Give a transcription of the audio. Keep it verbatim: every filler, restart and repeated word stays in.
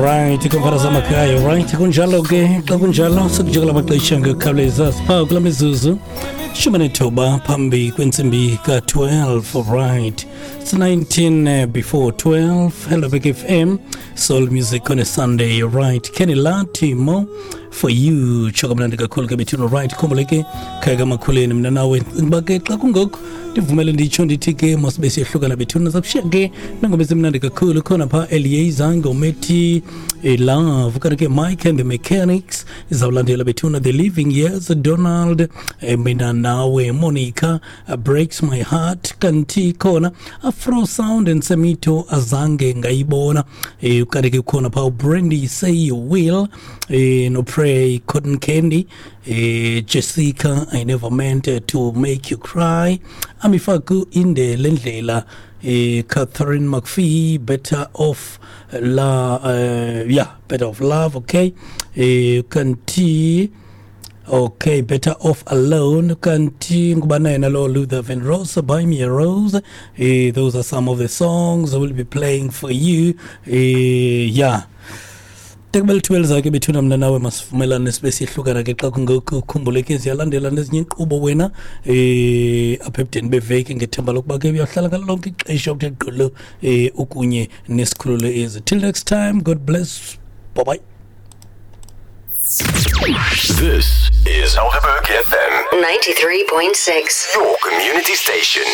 Right, kumfana zamakhaya, right, kunjalo ke. Xa kunjalo sekujikela amaxesha ngokukhawuleza, sipha kula mizuzu shumi nethoba phambi kwentsimbi ka-twelve. Right, it's nineteen before twelve. Helderberg F M, soul music on a Sunday. Right, Kenny Lati, "More for You", tsho kamnandi kakhulu ke bethuna. Right, khumbule ke, khaya kamakhuleni, mna nawe uba ke xa kungoku ndivumele nditsho ndithi ke masibe siyehlukana bethuna. Zakushiya ke nangoma ezimnandi kakhulu khona phaa, Elieza ngomethi "Love", kanti ke Mike and the Mechanics izawulandela bethuna, "The Living Years", Donald, eh, "Mina Nawe", Monica, uh, "Breaks My Heart", kanti khona Afro Sound and Semito, "Azange Ngayibona", eh, kanti ke khona phaa Brandy, "Say You Will", eh, no Pray, "Cotton Candy", eh, Jessica, "I Never Meant to Make You Cry", Amifaku, "Inde Lendlela", eh, Catherine McPhee, "Better Off La", uh, yeah, "Better Off Love", okay, eh, kanti okay, "Better Off Alone", kanti ngubana yena lo, Luther Vandross, "Buy Me a Rose". eh, those are some of the songs I will be playing for you. eh, yeah tekubele lithuba zakhe bethuna, mna nawe masivumelane sibe siyehlukana ke xa kungekho. Ukhumbule ke ziyalandela nezinye inkqubo wena eh apha ebudeni beveki, ngethemba lokuba ke uyahlala ngalo lonke ixesha uthe gqolo eh ukunye nesikhululo ezi. Till next time, God bless, bye bye. This is Helderberg F M ninety-three point six. Your community station.